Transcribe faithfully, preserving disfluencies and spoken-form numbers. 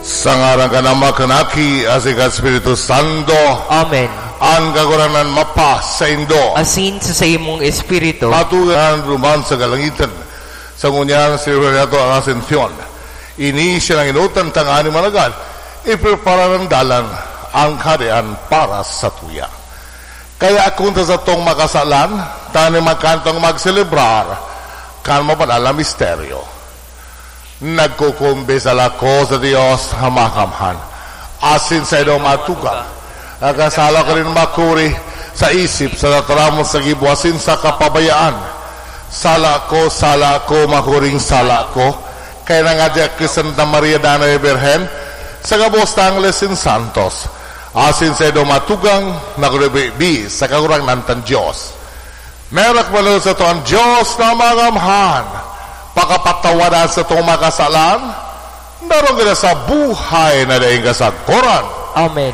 Sa ngaran kan Ama, kan Aki, asin kan Espiritu Santo. Amen. An Kagurangnan mapasaindo. Asin sa saimong espiritu. Patugan duman sa kalangitan. Sa ngunyan, selebrasyon nato an Ascension. Ini siya nang inutan tanganing managad. Iprepara an dalan, an Kahadean para sa tuya. Kaya kun ta satong makasalan, tanganing magkanto, magselebrar kan mabanal na misteryo. Nagkukumbisal ako sa Dios na Makamhan, asin sa inong matugang, nakasala ko nin makuri sa isip, sa tataramon, sa gibo, asin sa kapabayaan. Sala ko, sala ko, makuring sala ko, kaya nangadya ki Santa Maria, Dana de Birhen, sa gabos na angles nin santos, asin sa inong matugang, na kunubibi sa Kagurangnan tan Dios. Merak man sa to an Dios na Makamhan, pakapatawadan sa tong makasalan, darong kita sa buhay na daing kasagkoran. Amen.